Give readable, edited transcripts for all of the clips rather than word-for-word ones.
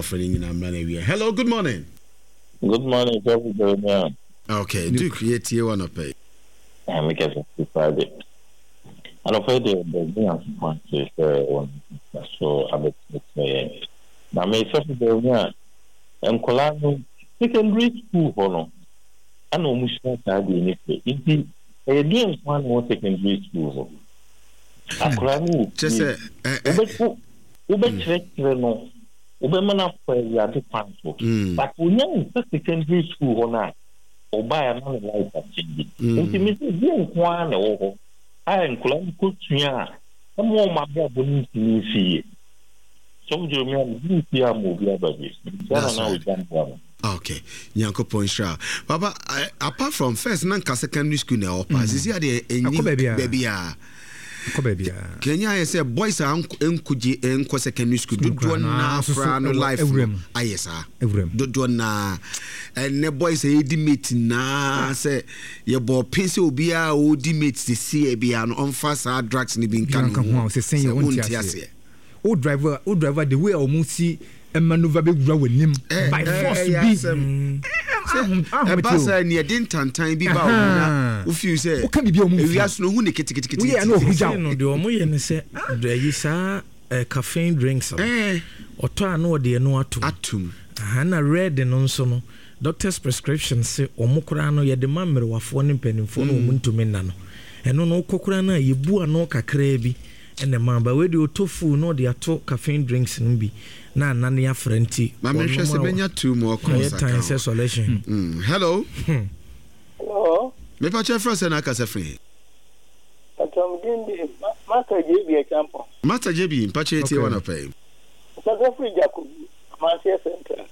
Ɔfrɛ no nyinaa mmra na awie. Hello, good morning. Good morning, Sɔfo Jeremiah. Okay, Duke, yɛtie wo anɔpa yi. Ah, me kɛse fi Friday. Anɔpa yi deɛ baabi Nyankopɔn ase sɛ wɔn so abɛkyerɛkyerɛ yɛn. Na me Sɔfo Jeremiah, nkwadaa no secondary school hɔ no, ɛna wɔn sua saa deɛ ne fɛ. Nti ɛyɛ deɛ nko ara na wɔ secondary school hɔ. Akwadaa no wɔ fie. Wobɛkyerɛkyerɛ no, wobɛma no akɔ Awurade kwan so. But onya nsa secondary school hɔ no a, ɔbaeɛ a na ne life akyɛngye. Nti me sɛ deɛ nko ara na ɛwɔ hɔ a nkwadaa no kɔsua a ɛma wɔn abrabɔ no ntumi nsi yie. Sɔfo Jeremiah mede nsi ama obi aba bi. Mekyia Nana Ogya Mboa no. Okay, Nyankopɔn nhyira. Papa, eh, apart from first na nka secondary school na ɛwɔ paa. Sisi adeɛ ɛnyi baabi a. Ɛkɔ baabi a. Kenya ayɛ sɛ boys a nkogye nkɔ secondary school dodoɔ naa koraa no life no ayɛ saa. Dodoɔ naa ɛnɛ boys a yɛdi mate naa sɛ yɛbɔ pen sɛ obiara a ɔdi mate sisi biara no ɔmfa saa drugs no bi nka ne ho sɛ wonte aseɛ. Wo drive a wo drive a the way a wɔn si maneuver bɛ wura w'anim by force bi. Ɛba saa ni ɛde ntantan bi ba wɔn na wo feel sɛ woka biribi a wɔn mfi ewiase no ohun ne ketekete. Woyɛ ɛna ohun gya no deɛ wɔn yɛ ne sɛ ɛyi saa caffeine drinks no ɔtɔ a na ɔde ɛno atum. Atum. Aha na red no nso no doctor's prescription se wɔn koraa no yɛde ma mmerewafoɔ ne mpanimfoɔ no wɔn ntumi nna no ɛno no wokɔ koraa no a yɛbu ano kakraa bi. Ɛna ɛma ba wei deɛ ɔtɔ full na ɔde ato caffeine drinks no bi na anane afra nti Ma me nhwɛ sɛ mɛnya 2 more calls aka ho. Ɔyɛ tan sɛ solution. Hello. Hello. Me pakyɛ frɛ sɛ na akasa firi he? Pakyɛ me din de Master JB Acheampong. Master JB mpakyɛ yɛtie wo anɔpa yi. Mekasa firi Jakobu, Amanseɛ Central.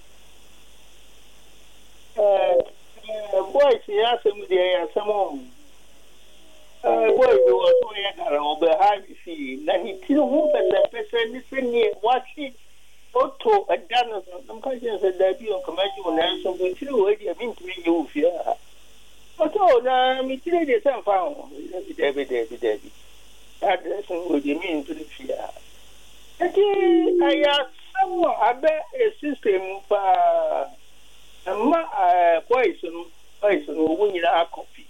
Eh, boys yi asɛm deɛ ɛyɛ asɛm o. Eh, boy bi wɔ so ɔyɛ hara, ɔbɛha me fie, na ne tiri ho mpɛsɛmpɛsɛ ne sɛdeɛ watwe oto ɛda no so. Na meka kyerɛ no sɛ, daabi o, nka mɛgye wo, nanso wo tiri wei deɛ mentumi nnye wo fie ha. Ɔsɛ o, na me tiri deɛ sɛ mfa ho. Daabi, daabi, daabi. Saa dressing wei deɛ mentumi fie ha. Enti ɛyɛ asɛm a abɛ system mu paa. Ɛma boys no, boys no wɔn nyinaa akɔpi.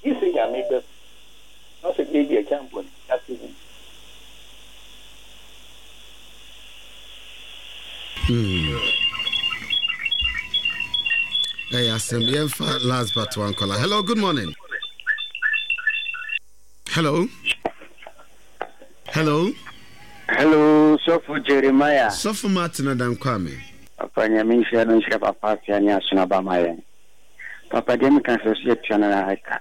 Gye sɛ Nyame bɛ na sɛ deɛ bi ɛkyɛ mpɔ no ase wu. Hmm. Ɛyɛ asɛm yɛmfa last but one caller. Hello, good morning. Hello. Hello. Hello, Sɔfo Jeremiah. Sɔfo Martin Adankwame. Papa Nyame nhyira no nhyira papa afia ne asono aba ma yɛn. Papa deɛ meka sɛ ɔsɛ yɛtua no ara ka.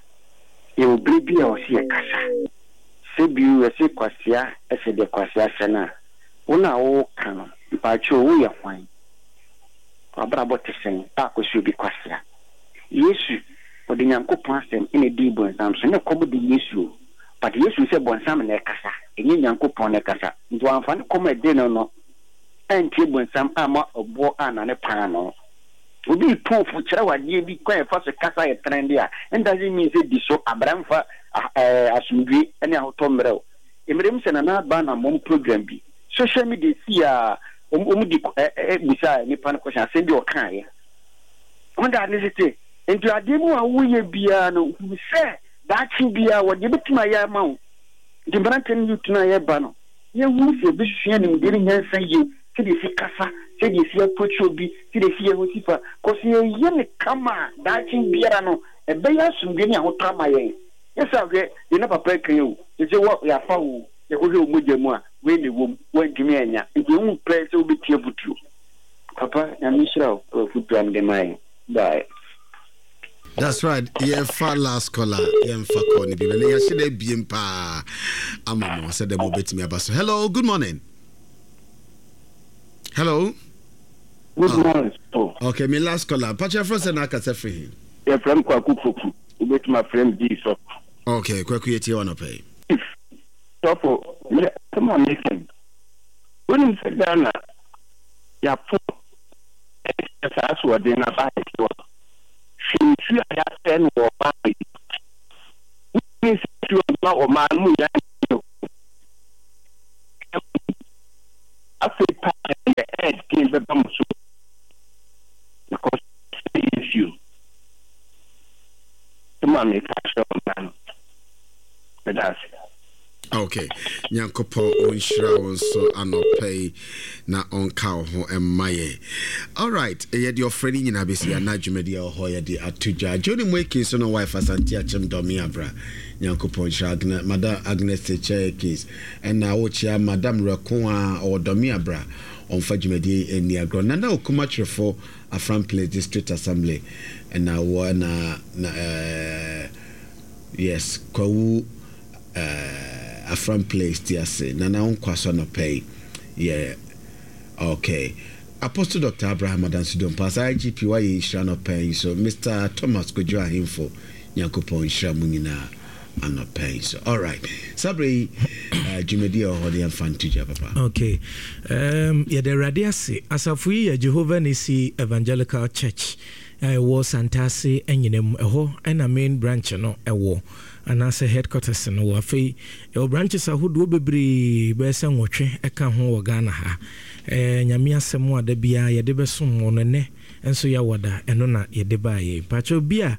Yɛwɔ berɛ bi a ɔsɛ yɛkasa. Sɛ bio yɛse kwasea hyɛ deɛ kwasea hyɛ no a, wo no a woka no, mpakyɛw woyɛ hwan? W'abrabɔ te sɛn a kɔsi obi kwasea? Yesu, ɔde Nyankopɔn asɛm na ɛdii bonsam so. Ne kɔm de Yesu o, but Yesu hu sɛ bonsam na ɛkasa, ɛnyɛ Nyankopɔn na ɛkasa. Nti wamfa ne kɔm a ɛde no no antie bonsam amma ɔboɔ annane paanoo. Obi retu wo fo, kyerɛ wo adeɛ bi, kwan a yɛfa so kasa yɛ trɛnde a, it doesn't mean sɛ di so, abra mfa asomdwoe ne ahotɔ mmrɛ wo. Mmerɛ mu sɛ Nana Aba anammɔn program bi, social media sii a wɔn de bisaa nipa no question, asɛm bi a ɔkaeɛ. Wɔn de ade tete. Nti adeɛ bi a woyɛ biara no, hunu sɛ daakye biara wɔde bɛtumi ayɛ ama wo. Nti mmeranteɛ no youth no a yɛba no, yɛhunu sɛ yɛbɛsua nimdeɛ ne nyansa yie, sɛdeɛ yɛsi kasa, sɛdeɛ yɛsi approach obi, sɛdeɛ yɛsi yɛ ho si fa. Cause yɛyɛ no kama a, daakye biara no, ɛbɛyɛ asomdwoeɛ ne ahotɔ ama yɛn. Nyɛ saa hwɛ deɛ na papa reka yi o, seesei wɔ yɛafa wo o, yɛkɔhwɛ wo mogya mu a, wei na ɛwɔ mu, woantumi annya. Nti ɛho pɛ sɛ wobɛtie afotuo. Papa, Nyame nhyira wo wɔ afotuo a mode ma yɛn. Bye. That's right. Yɛfa last caller. Yɛmfa call no bi. Na yɛahyɛ dɛ abiem paa ama mo sɛ dɛ mobɛtumi aba so. Hello, good morning. Hello. Good ah. morning. Oh. Okay, me last caller. Pakyɛ frɛ sɛ na akasa firi he? Yɛfrɛ m Kwaku Poku. Wobɛtumi afrɛ m Gii Sɔfo. Okay, Kwaku yɛtie wɔ anɔpa yi. Chief Sɔfo, me asɛm a meka yi, wonim sɛ Ghana yɛapo ɛne saa asoɔden no aba ahɛsewa. Hwɛ nsuo a yɛasɛe no wɔ ɔman yi. Wonim sɛ nsuo ma ɔman no mu nyinaa. Afei paa yɛ. meka akyerɛ ɔman no. Meda ase. Ok, Nyankopɔn ɔnhyira wo nso anɔpa yi na ɔnka wo ho mma yɛn. Alright, yɛde ɔfrɛ no nyinaa bɛsi ana dwumadi a ɛwɔ hɔ yɛde ato dwa. Johnny Moeki nso no wife Asante Akyem Dɔme Abra. Nyankopɔn nhyira Agnes, Madam Agnes Tekyɛ Case. Ɛna wokyea Madam Rɛko a ɔwɔ Dɔme Abra. Ɔmfa dwumadi yi nni agorɔ. Nana Okuma Twerefo, Afram Place District Assembly. Ɛna wɔ ɛna na ɛɛ yes, Kwawu eh, Afram Place ti ase. Nana wo nkwa so anɔpa yi. Yeah. Okay. Apostle Dr. Abraham Adansi Dompas, IGP wayɛ nhyira anɔpa yi nso. Mr. Thomas Kojo Ahemfo, Nyankopɔn nhyira mu nyinaa anɔpa yi nso. All right. Saa berɛ yi, dwumadi a ɛwɔ hɔ no yɛmfa nto dwa papa. Okay. Yɛda Awurade ase. Asafo yi yɛ Jehovah Nissi Evangelical Church a ɛwɔ Santase Anyinam. Ɛhɔ na main branch no wɔ. Anaasɛ headquarters no wɔ. Afei yɛwɔ branches ahodoɔ bebree bɛyɛ sɛ nwɔtwe ka ho wɔ Ghana ha. Ɛɛ Nyame asɛm a da biara yɛde bɛsom mo no ɛnɛ nso yɛawɔ da ɛno na yɛde baeɛ yi. Mpakyɛw bi a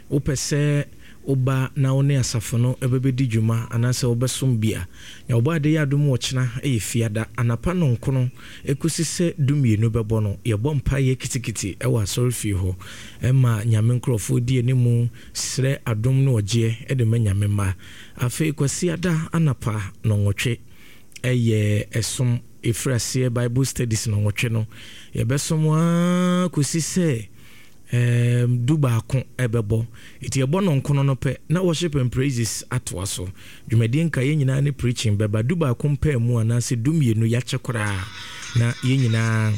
wopɛ sɛ woba na wo ne asafo no bɛbɛdi dwuma anaasɛ wobɛsom bi a, Nea ɔbɔ ade yɛ adom ɔkyena yɛ fiada anapa nɔnkono ɛkɔsi sɛ dumienu bɛbɔ no yɛbɔ mpaeɛ kitikiti wɔ asɔrefie hɔ ma Nyame nkorɔfoɔ di animu Srɛ adom ne ɔgyeɛ de ma Nyame mma. Afei Kwasiada anapa nɔnwɔtwe yɛ ɛsom ɛfiri aseɛ Bible studies nɔnwɔtwe no yɛbɛsom ara kɔsi sɛ ɛɛm du baako ɛbɛbɔ. Ɛti yɛbɔ nɔnkono no pɛ na worship and praises atoa so. Dwumadie nkaeɛ nyinaa ne preaching bɛba du baako mpaamu anaasɛ du mmienu yɛakyɛ koraa na yɛn nyinaa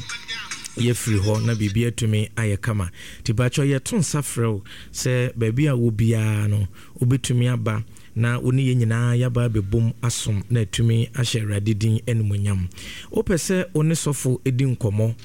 yɛafiri hɔ na biribi atumi ayɛ kama. Nti pakyɛ yɛto nsa frɛ wo sɛ baabi a wɔ biara no wobɛtumi aba na wo ne yɛn nyinaa yɛaba abɛbom asom na atumi ahyɛ Awurade din animuonyam. Wopɛ sɛ wo ne sɔfo di nkɔmmɔ,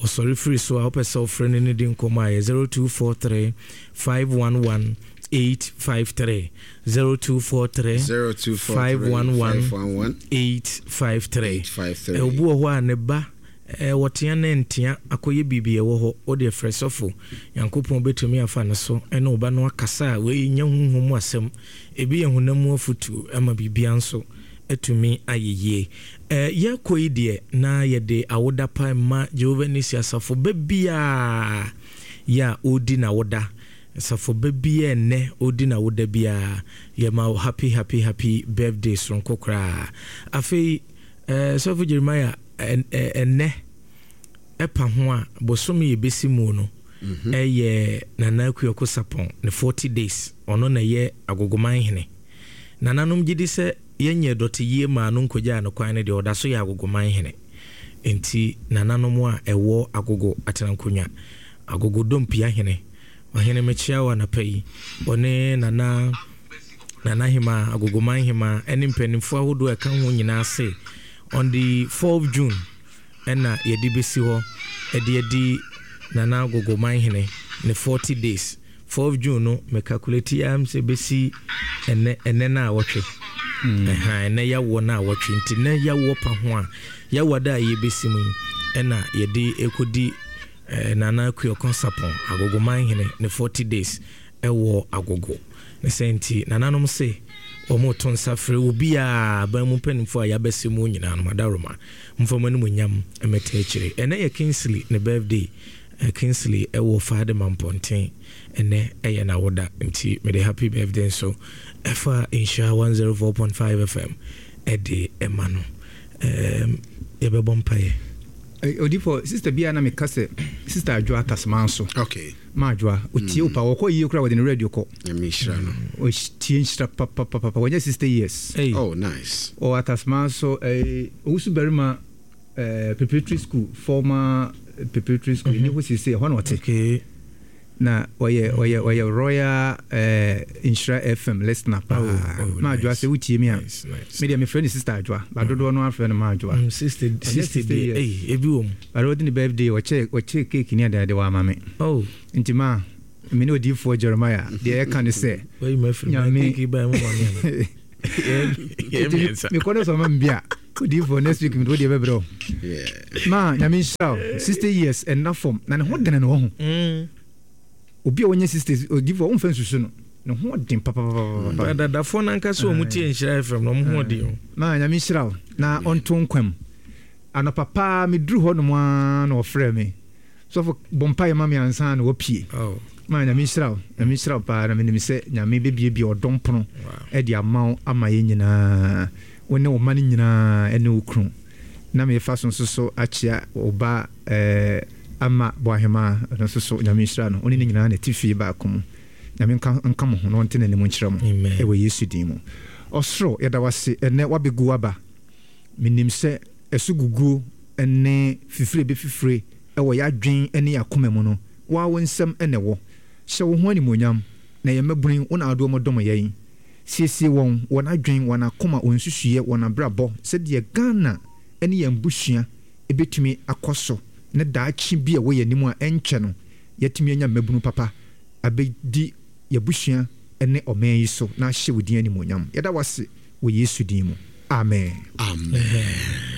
ɔsɔre firi so a wopɛ sɛ wofrɛ no ne di nkɔmmɔ a ɛyɛ 0243 511 853 0243 511 853. Obi wɔ hɔ a ne ba wɔtea na ɛntea akɔyɛ biribi ɛwɔ hɔ, wo deɛ frɛ sɔfo. Nyankopɔn bɛtumi afa ne so ne wo ba no akasa a wei nyɛ honhom mu asɛm, ebi yɛ honam mu afotuo ama biribiara nso atumi ayɛ yie. Yɛrekɔ yi deɛ na yɛde awoda pa mma Jehovah Nissi asafo ba biara yɛ a ɔredi n'awoda. Asafo ba biara ɛnnɛ ɔredi n'awoda biara yɛma wo happy happy happy birthday soronko koraa. Afei Sɔfo Jeremiah ɛnnɛ ɛpa ho a bosome yɛbɛsi mu no ɛyɛ Nana Akuoko Sarpong ne 40 days, ɔno na ɛyɛ Agogoman hene. Nananom gyedi sɛ yɛnyɛɛ dɔte yie maa no nkɔgyaa no kwan no deɛ ɔda so yɛ Agogoman hene. Enti nananom a ɛwɔ Agogo Atenankonnwa, Agogo Dompia hene, Ɔhene mekyea wo anapa yi, ɔne Nana Nana Hemaa, Agogoman Hemaa ɛne mpanimfoɔ ahodoɔ a ɛka ho nyinaa se on the 4th June ɛna yɛde bɛsi hɔ ɛde adi Nana Agogoman hene ne 40 days. 4th June no me calculate ara sɛ bɛsi ɛnɛ ɛnɛ na awɔtwe. Ɛha ɛnɛ yawoɔ na awɔtwe nti nɛ yawoɔ pa ho a yawoɔ da a yɛbɛsi mu yi ɛna yɛde ɛkɔdi Nana Akuoko Sarpong Agogoman hene ne 40 days ɛwɔ Agogo. Ne sɛ nti nananom se wɔn to nsa frɛ obiara aban mu mpanimfoɔ a yɛabɛsi mu nyinaa no madaworoma mfa mo animuonyam mmɛta akyire. Ɛnɛ yɛ Kingsley ne birthday. Kingsley wɔ Fadema Mpɔnten, ɛnnɛ yɛ n'awoda nti mede happy birthday nso ɛfa Nhyira 104.5 FM de ma no. Yɛbɛbɔ mpaeɛ. Odifo, sister bi a na meka sɛ sister Adwoa Tasman so. Okay. Ma Adwoa, otie wo pa, wɔkɔ yie koraa wɔde ne radio kɔ. Nyame nhyira no. Otie nhyira papapapa, wɔnyɛ 60 years. Hey. Oh, nice. Ɔwɔ Atasman so, eh, owusu barima Eh, preparatory school, former preparatory school, ɛni hɔ seesei, ɛhɔ na ɔte. Okay. Na ɔyɛ ɔyɛ ɔyɛ Royal eh, Nhyira FM listener paa. Oh, oh, Ma Adwoa nice. sɛ wotie mi a, Nice, nice. me deɛ mefrɛ no Sister Adwoa, ba dodoɔ no afrɛ no Ma Adwoa. Sister, Ɔnyɛ sister 60 deɛ, years. ei, ebi wɔ mu. But ɔdi ne birthday, ɔkyɛ ɔkyɛ cake ne adeade wɔ ama me. Oh. Nti ma me ne odiyifoɔ Jeremiah deɛ yɛka ne sɛ, Wayi m'afiri mu, Nyame cake yi bae mu ma me ana? Yɛ mmiɛnsa. Mekɔ no sɛ ɔma me bi a, odiyifoɔ next week mede wo deɛ bɛbrɛ wo. Ma Nyame nhyira wo. 60 years ɛnna fam na ne ho dene no wɔ ho. Obi a wɔnyɛ 60 odiyifoɔ womfa nsusu no. Ne ho ɔden papapapapa. Adadafoɔ no ankasa wɔn tie Nhyira FM no wɔn ho ɔden o. Maa Nyame nhyira wo na ɔnto nkwa mu. Anɔpa paa me duru hɔ nom ara na ɔfrɛɛ me. Sɔfo bɔ mpaeɛ ma me ansa na wapue. Maa Nyame nhyira wo. Nyame nhyira wo paa na menim sɛ Nyame bɛbiebie ɔdɔ mpono de ama wo ama yɛn nyinaa. Wo ne wo mma no nyinaa ɛne wo kunu. Na mefa so nso so akyea wo ba eh, Ama Boahemaa, ɔno nso so Nyame nhyira no. Wo ne ne nyinaa na ɛte fie baako mu. Nyame nka nka mo ho na ɔnte n'anim nkyerɛ mo wɔ Yesu din mu. Ɔsoro, yɛda wo ase ɛnnɛ woabɛgu w'aba. Menim sɛ ɛso guguo ne fifire bɛfifire wɔ y'adwen ne y'akoma mu no, wo ara wo nsam na ɛwɔ. Hyɛ wo ho animuonyam, na yɛn mmabunu yi, wo na wode wɔn dom yɛn. Siesie wɔn, wɔn adwen, wɔn akoma, wɔn nsusuiɛ, wɔn abrabɔ, sɛdeɛ Ghana ne yɛn abusua bɛtumi akɔ so na daakye bi a ɛwɔ yɛn anim a ɛnkyɛ no, yɛatumi anya mmabunu papa abɛdi y'abusua ne ɔman yi so na ahyɛ wo din animuonyam. Yɛda wo ase wɔ Yesu din mu. Amen. Amen.